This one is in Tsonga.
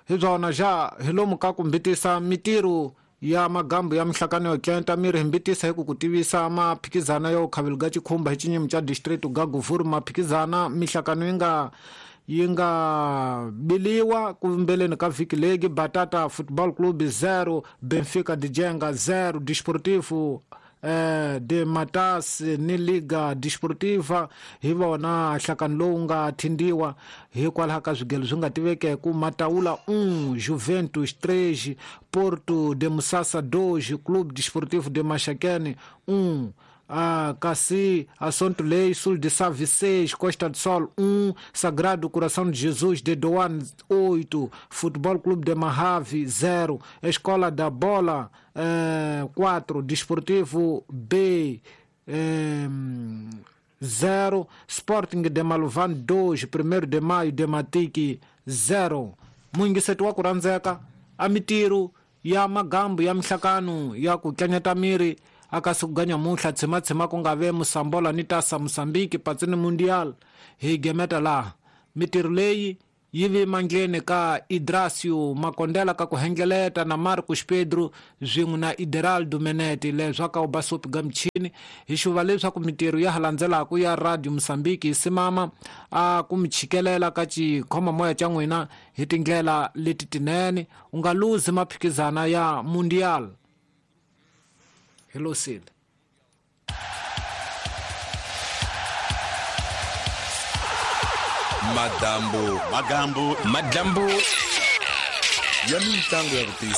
Hi byona ja hi lomu ka ku mbitisa mitirho ya magambu ya mihlakano yo tlenta miri hi mbitisa hi ku ku tivisa maphikizana yo khavelo ga chikhumba hi chinyimi cha district ga Guvuru. Maphikizana mihlakano yi nga biliwa kumbeleni ka vhiki legi. Batata Football Club 0, Benfica de Jenga 0, Desportivo de Matas ni Liga Desportiva hi vona nhlakano lowu nga thindiwa hikwalaho ka swigelo swi nga tivekeku. Mataula 1, Juventus 3, Porto de Musasa 2, Clube Desportivo de Maxaquene 1. Kasi Assunto Lei, Sul de Save 6, Costa do Sol 1, Sagrado Coração de Jesus de Doan 8, Futebol Clube de Mahave 0, Escola da Bola 4, Desportivo B 0, Sporting de Maluvan 2, 1 de Maio de Matiki 0. Muyingiseti wa ku rhandzeka a mitirho ya magambu ya mihlakano ya ku tlanyata miri akasi kuganya muhla tshematshema ku nga ve Musambola ni tasa Mosambiki patsini Mundial hi gemeta laha mitirho leyi yi vi mandleni ka Idrasio Makondela ka ku hengeleta na Marcos Pedro swin'we na Ideraldo Menete leswaku u basopi ga michini hi xuva leswaku mitirho ya ha landzelaka ya Radio Mosambiki hi simama a ku mi chikelela ka xikhoma moya xa n'wina hi tindlela leti tinene. U nga luzi maphikizana ya Mundial. Hello Sid. Madambu, Magambu, madambu ya mitlangu ya ku tiyisa.